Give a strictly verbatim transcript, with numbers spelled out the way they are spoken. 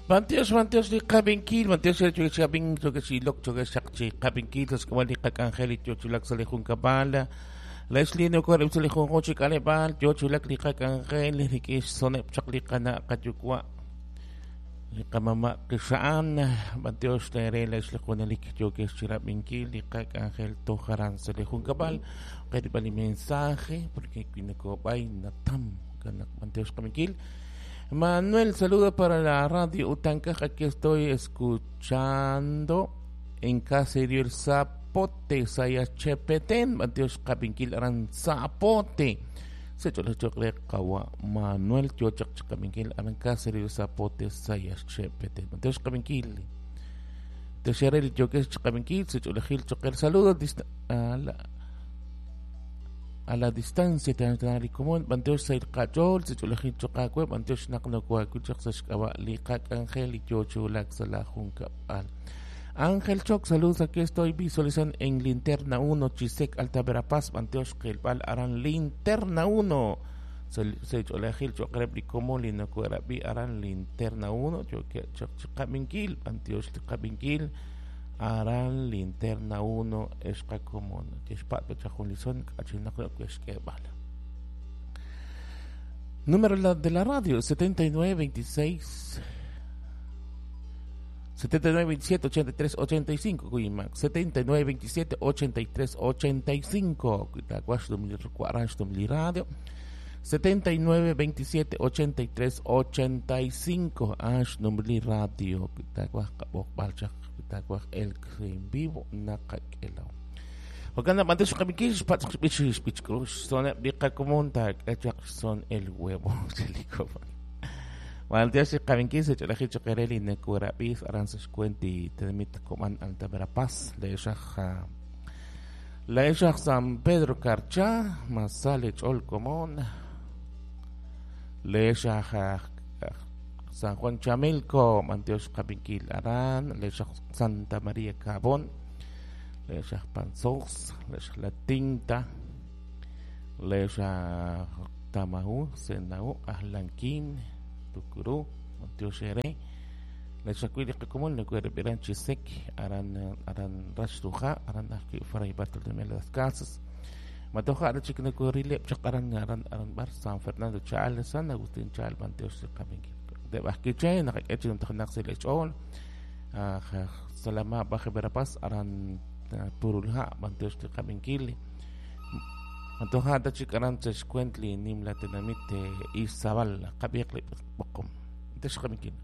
Bantiox, bantiox li qabinkil, bantiox li chubin, chubin, chubin, chubin, qabinkil, chubin, qakangel, chulak sa li junkabal. Leslie no kore li junjun chi k'aleb'aal yo chulak li qak'anjel rik'in xsoneb' chaq li qana' qayuwa' li qamama' qixa'an bantiox tere lex li junelik yokex chirab'inkil li qak'anjel tojaran sa li junkab'al qerib'al li mensaje porque kinokob'ay natam kanak bantiox qabinkil. Manuel, saludo para la radio Utancaj, aquí estoy escuchando en Caserío El Zapote, Sayachepeten, Mateo Capinkil Aran Zapote. Se Kawa Manuel Tiochak Capinkil Aran Caserío Zapote, Sayachepeten, Mateo Capinkil. Tesherel Yokesh Capinkil, se Cholejil Choquer, saludos a la a la distancia tan común banteo sail qachol se cholejil choqakwe banteo xnaqno kuakuchaq saxk'awa liqak ángel y yochulak sala junkab'al. Ángel Choc, saludos, aquí estoy visualizando en Linterna uno, Chisec, Alta Verapaz, Banteo Xkelbal, Aran Linterna uno. Se cholejil choqreb como linokuerabi Aran Linterna uno, choque choqabinkil, Banteo xqabinkil, Aran Linterna uno, Escacomón, Tispat, Chajunlizón, Achinacro, Esquebal. Número de la radio, setenta y nueve veintiséis setenta y nueve veintisiete ochenta y tres ochenta y cinco, Cuimac, setenta y nueve veintisiete ochenta y tres ochenta y cinco, radio, setenta y nueve veintisiete ochenta y tres ochenta y cinco, Ash Numli Radio, el en vivo, Nakakelao. Wakana mantex qamikish patx bich cruz son biqa comunta son el huevo Maldias qaminquis cholajil choquereli nekurabis aranzas cuenti tenmit coman Alta Verapaz le shaja la eshaj San Pedro Carchá masale chol común le shaja San Juan Chamilco manteos qaminquil aran le shaj Santa María Cabón le shaj Panzós le shaj La Tinta le shaj Tamaú Senaú Ajlanquín Tucurú, Monteo-Xeré, la Chacuili Común, le Cuerperan Chisec, Aran Aran Rashtuja, Aran Arqui Fray Bartolomé de las Casas, Matoja, Arachic Corile, Chacaran Aran Aran Bar, San Fernando Chal, San Agustín Chal, Manteo Xecaminqui, de Basquiche, Nacachi, Tanax, el Echol, Salama, Baje Verapaz, Aran Purulja, Manteo Xecaminquili. Antoja tachic aran tzexcuentli nimla tenamite Izabal qabiqli boqom. Texqamikin.